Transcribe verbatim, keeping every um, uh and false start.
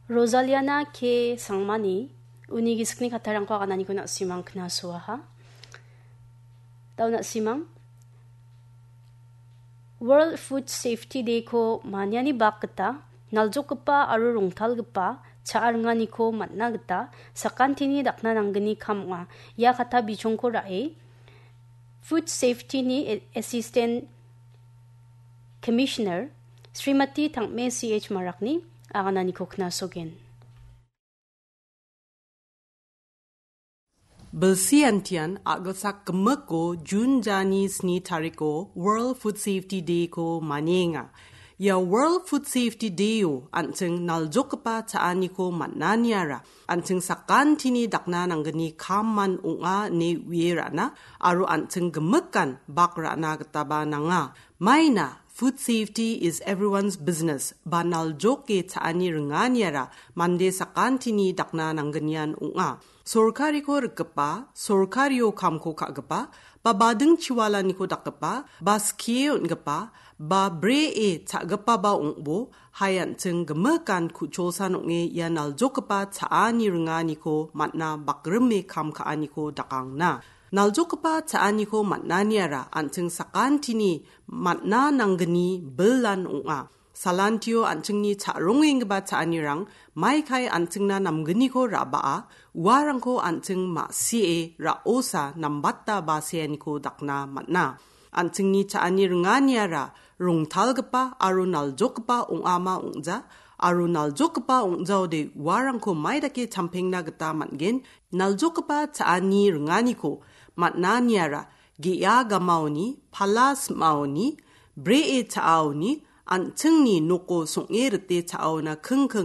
Rosaliana K Sangmani uni gisikni kattarangko agananiko na·simang knasoaha. Dao na·simang, World Food Safety Day-ko maniani bak gita naljokgipa aro rongtalgipa cha·a ringaniko man·na gita sakantini dakna nanggni kam ong·a. Ia kata bichongko ra·e Food Safety-ni A-, Assistant Commissioner Srimati Tangme C H Marakni agananiko knasogen. Bilsi antian a·gilsak gimikko Jun jani sni tariko World Food Safety Day-ko manienga. Ia World Food Safety Day-o an·ching naljokgipa cha·aniko man·aniara an·ching sakantini dakna nanggni kamman ong·a ine uie ra·na aro an·ching gimikan bak ra·na gitaba nanga. Maina, food safety is everyone's business, ba naljoke cha·ani ringaniara mande sakantini dakna nanggnian ong·a. Sorkariko rikgipa, sorkario kamko ka·gipa, ba bading chiwalaniko dakgipa, ba skie on·gipa, ba bree cha·gipaba ong·bo, hai an·ching gimikan ku·cholsan ong·e ia naljokgipa cha·ani ringaniko man·na bakrime kam ka·aniko dakangna. Naljokgipa cha·aniko man·aniara an·ching sakantini man·na nanggni bilan ong·a. Salantio an·chingni cha·rongenggipa cha·anirang maikai an·chingna namgniko ra·baa, uarangko an·ching ma·sie ra·osa nambata baseaniko dakna man·a. An·chingni cha·ani ringaniara rongtalgipa aro naljokgipa ong·ama ong·ja, aro naljokgipa ong·jaode uarangko maidake champengna gita man·gen. Naljokgipa cha·ani ringaniko man·aniara ge·a gamaoni, pala sim·aoni, bree cha·aoni, an·chingni noko song·e rite cha·aona kingking